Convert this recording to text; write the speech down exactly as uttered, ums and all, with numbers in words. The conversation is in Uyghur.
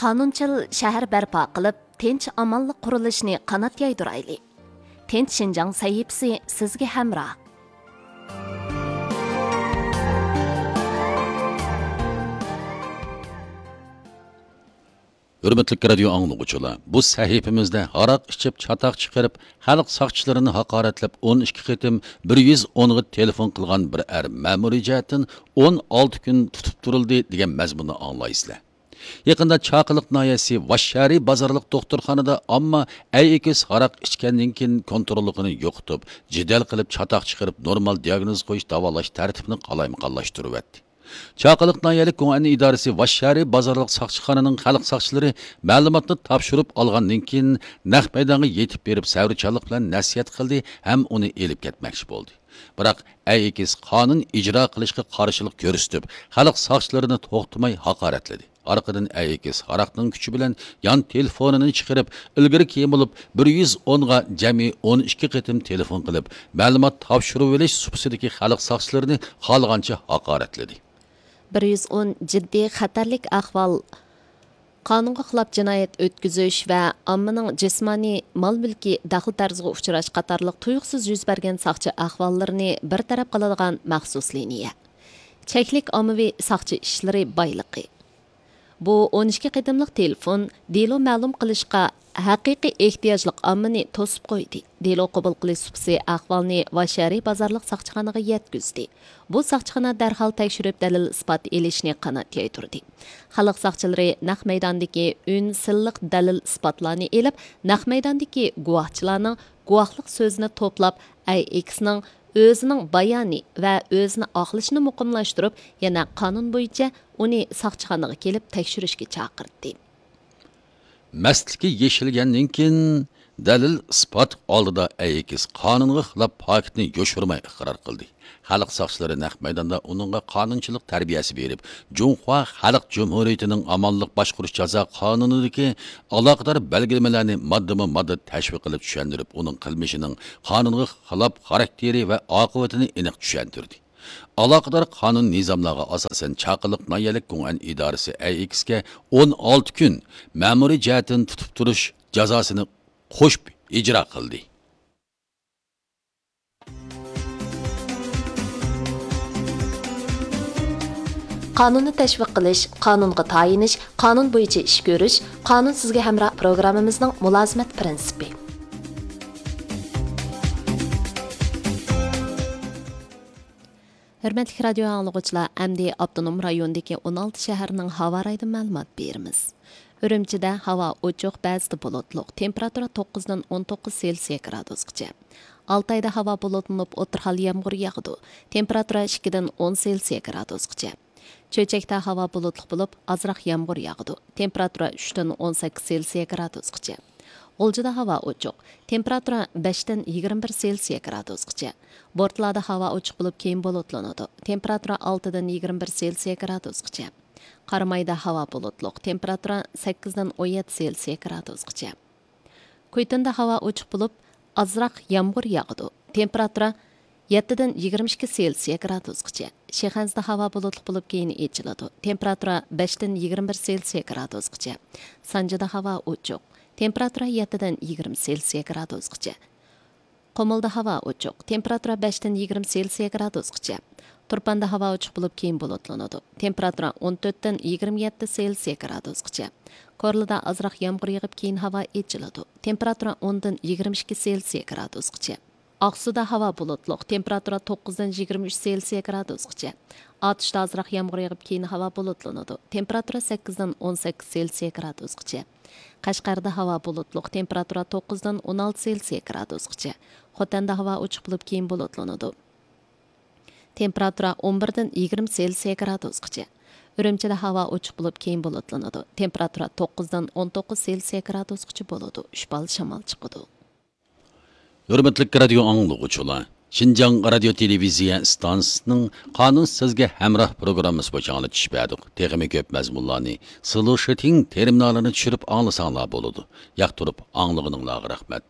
قانۇنچىل شەھەر بەرپا قىلىپ، تىنچ-ئامانلىق قۇرۇلۇشىنى قانات يايدۇرايلى. تىنچ شىنجاڭ سەھىپىسى سىزگە ھەمراھ. ھۆرمەتلىك رادىيو ئاڭلىغۇچىلار، بۇ سەھىپىمىزدە ھاراق ئىچىپ، چاتاق چىقىرىپ، خەلق ساقچىلىرىنى ھاقارەتلەپ، ئون ئىككى قېتىم بىر يۈز ئونغا تېلېفون قىلغان بىر ئەر مەمۇرىي جەھەتتىن ئون ئالتە كۈن تۇتۇپ تۇرۇلدى، دېگەن مەزمۇننى ئاڭلايسىلەر. يېقىندا چاقىلىق ناھىيەسى ۋاششەھىرى بازارلىق دوختۇرخانىدا ئامما ئەي ئېكىس ھاراق ئىچكەندىن كېيىن كونتروللۇقىنى يوقىتىپ، جېدەل قىلىپ چاتاق چىقىرىپ، نورمال دىياگنوز قويۇش، داۋالاش تەرتىپىنى قالايمىقانلاشتۇرۇۋەتتى. چاقىلىق ناھىيەلىك گۇڭئەن ئىدارىسى ۋاششەھىرى بازارلىق ساقچىخانىنىڭ خەلق ساقچىلىرى مەلۇماتنى تاپشۇرۇپ ئالغاندىن كېيىن، نەق مەيدانغا يېتىپ بېرىپ، سەۋرچانلىق بىلەن نەسىھەت قىلدى ھەم ئۇنى ئېلىپ كەتمەكچى بولدى. بىراق، ئەي ئېكىس قانۇن ئىجرا قىلىشقا قارشىلىق كۆرسىتىپ، خەلق ساقچىلىرىنى توختىماي ھاقارەتلىدى. ئارقىدىن ئەي ئېكىس ھاراقنىڭ كۈچى بىلەن يان تېلېفونىنى چىقىرىپ، ئىلگىرىكى يېمىلىپ بىر يۈز ئونغا جەمئىي ئون ئىككى قېتىم تېلېفون قىلىپ، مەلۇمات تاپشۇرۇۋېلىش سۇپىسىدىكى خەلق ساقچىلىرىنى خالىغانچە ھاقارەتلىدى. بىر يۈز ئون جىددىي خەتەرلىك ئەھۋال قانۇنغا خىلاپ جىنايەت ئۆتكۈزۈش ۋە ئاممىنىڭ جىسمانىي، مال-مۈلكى دەخلى-تەرۇزغا ئۇچراش قاتارلىق تۇيۇقسىز يۈز بەرگەن ساقچى ئەھۋاللىرىنى بىر تەرەپ قىلىدىغان مەخسۇس لىنىيە. چەكلىك ئاممىۋى ساقچى ئىشلىرى بايلىقى. بۇ ئون ئىككى قېتىملىق تېلېفون دېلو مەلۇم قىلىشقا ھەقىقىي ئېھتىياجلىق ئاممىنى توسۇپ قويدى. دېلو قوبۇل قىلىش سۇپىسى ئەھۋالنى ۋاششەھىرى بازارلىق ساقچىخانىغا يەتكۈزدى. بۇ ساقچىخانا دەرھال تەكشۈرۈپ، دەلىل-ئىسپات ئېلىشنى قانات يايدۇردى. خەلق ساقچىلىرى نەق مەيداندىكى ئۈن سىنلىق دەلىل-ئىسپاتلارنى ئېلىپ، نەق مەيداندىكى گۇۋاھچىلارنىڭ گۇۋاھلىق سۆزىنى توپلاپ، ئەي ئېكىسنىڭ ئۆزىنىڭ بايانى ۋە ئۆزىنى ئاقلىشىنى مۇقىملاشتۇرۇپ، يەنە قانۇن بويىچە ئۇنى ساقچىخانىغا كېلىپ تەكشۈرۈشكە چاقىردى. مەستلىكى يېشىلگەندىن كېيىن، دەلىل-ئىسپات ئالدىدا ئەي ئېكىس قانۇنغا خىلاپ پاكىتنى يوشۇرماي ئىقرار قىلدى. خەلق ساقچىلىرى نەق مەيداندا ئۇنىڭغا قانۇنچىلىق تەربىيەسى بېرىپ، جۇڭخۇا خەلق جۇمھۇرىيىتىنىڭ ئامانلىق باشقۇرۇش جازا قانۇنىدىكى ئالاقىدار بەلگىلىمىلەرنى ماددىمۇ ماددا تەشۋىق قىلىپ چۈشەندۈرۈپ، ئۇنىڭ قىلمىشىنىڭ قانۇنغا خىلاپ خاراكتېرى ۋە ئاقىۋىتىنى ئېنىق چۈشەندۈردى. ئالاقىدار قانۇن نىزاملارغا ئاساسەن، چاقىلىق ناھىيەلىك گۇڭئەن ئىدارىُسى ئەي ئېكىسكە ئون ئالتە كۈن مەمۇرىي جەھەتتىن تۇتۇپ تۇرۇش جازاسىنى قوشۇپ ئىجرا قىلدى. قانۇننى تەشۋىق قىلىش، قانۇنغا تايىنىش، قانۇن بويىچە ئىش كۆرۈش، قانۇن سىزگە ھەمراھ پروگراممىمىزنىڭ مۇلازىمەت پىرىنسىپى. ھۆرمەتلىك رادىيو ئاڭلىغۇچىلار، ئەمدى ئاپتونوم رايوندىكى ئون ئالتە شەھەرنىڭ ھاۋا رايىدىن مەلۇمات بېرىمىز. ئۈرۈمچىدە ھاۋا ئوچۇق، بەزىدە بۇلۇتلۇق، تېمپېراتۇرا توققۇزدىن ئون توققۇز سېلسىيە گرادۇسقىچە. ئالتايدا ھاۋا بۇلۇتلىنىپ، ئوتتۇرا ھال يامغۇر ياغىدۇ، تېمپېراتۇرا ئىككىدىن ئون سېلسىيە گرادۇسقىچە. چۆچەكتە ھاۋا بۇلۇتلۇق بولۇپ، ئازراق يامغۇر ياغىدۇ، تېمپېراتۇرا ئۈچتىن ئون سەككىز سېلسىيە گرادۇسقىچە. غۇلجىدا ھاۋا ئوچۇق، تېمپېراتۇرا بەشتىن يىگىرمە بىر سېلسىيە گرادۇسقىچە. بورتالادا ھاۋا ئوچۇق بولۇپ، كېيىن بۇلۇتلىنىدۇ، تېمپېراتۇرا ئالتىدىن يىگىرمە بىر سېلسىيە گرادۇسقىچە. قارامايدا ھاۋا بۇلۇتلۇق، تېمپېراتۇرا سەككىزدىن ئون يەتتە سېلسىيە گرادۇسقىچە. كۇيتۇندا ھاۋا ئوچۇق بولۇپ، ئازراق يامغۇر ياغىدۇ، تېمپېراتۇرا يەتتىدىن يىگىرمە ئىككى سېلسىيە گرادۇسقىچە. شىخەنزىدە ھاۋا بۇلۇتلۇق بولۇپ، كېيىن ئېچىلىدۇ، تېمپېراتۇرا بەشتىن يىگىرمە بىر سېلسىيە گرادۇسقىچە. سانجىدا ھاۋا ئوچۇق، تېمپېراتۇرا يەتتىدىن يىگىرمە سېلسىيە گرادۇسقىچە. قۇمۇلدا ھاۋا ئوچۇق، تېمپېراتۇرا بەشتىن يىگىرمە سېلسىيە گرادۇسقىچە. تۇرپاندا ھاۋا ئوچۇق بولۇپ، كېيىن بۇلۇتلىنىدۇ، تېمپېراتۇرا ئون تۆتتىن يىگىرمە يەتتە سېلسىيە گرادۇسقىچە. كورلىدا ئازراق يامغۇر يېغىپ، كېيىن ھاۋا ئېچىلىدۇ، تېمپېراتۇرا ئوندىن يىگىرمە ئىككى سېلسىيە گرادۇسقىچە. ئاقسۇدا ھاۋا بۇلۇتلۇق، تېمپېراتۇرا توققۇزدىن يىگىرمە ئۈچ سېلسىيە گرادۇسقىچە. ئاتۇشتا ئازراق يامغۇر يېغىپ، كېيىن ھاۋا بۇلۇتلىنىدۇ، تېمپېراتۇرا سەككىزدىن ئون سەككىز سېلسىيە گرادۇسقىچە. قەشقەردە ھاۋا بۇلۇتلۇق، تېمپېراتۇرا توققۇزدىن ئون ئالتە سېلسىيە گرادۇسقىچە. خوتەندە ھاۋا ئوچۇق بولۇپ، كېيىن بۇلۇتلىنىدۇ، تېمپېراتۇرا ئون بىردىن يىگىرمە سېلسىيە گرادۇسقىچە. ئۈرۈمچىدە ھاۋا ئوچۇق بولۇپ، كېيىن بۇلۇتلىنىدۇ، تېمپېراتۇرا توققۇزدىن ئون توققۇز سېلسىيە گرادۇسقىچە بولىدۇ، ئۈچ بال شامال چىقىدۇ. ھۆرمەتلىك رادىيو ئاڭلىغۇچىلار، شىنجاڭ رادىيو تېلېۋىزىيە ئىستانسىسىنىڭ قانۇن سىزگە ھەمراھ پروگراممىسى بويىچە ئاڭلىتىش بەردۇق. تېخىمۇ كۆپ مەزمۇنلارنى سلۇشىتىڭ تېرمىنالىنى چۈشۈرۈپ ئاڭلىساڭلار بولىدۇ. ياقتۇرۇپ ئاڭلىغىنىڭلارغا رەھمەت.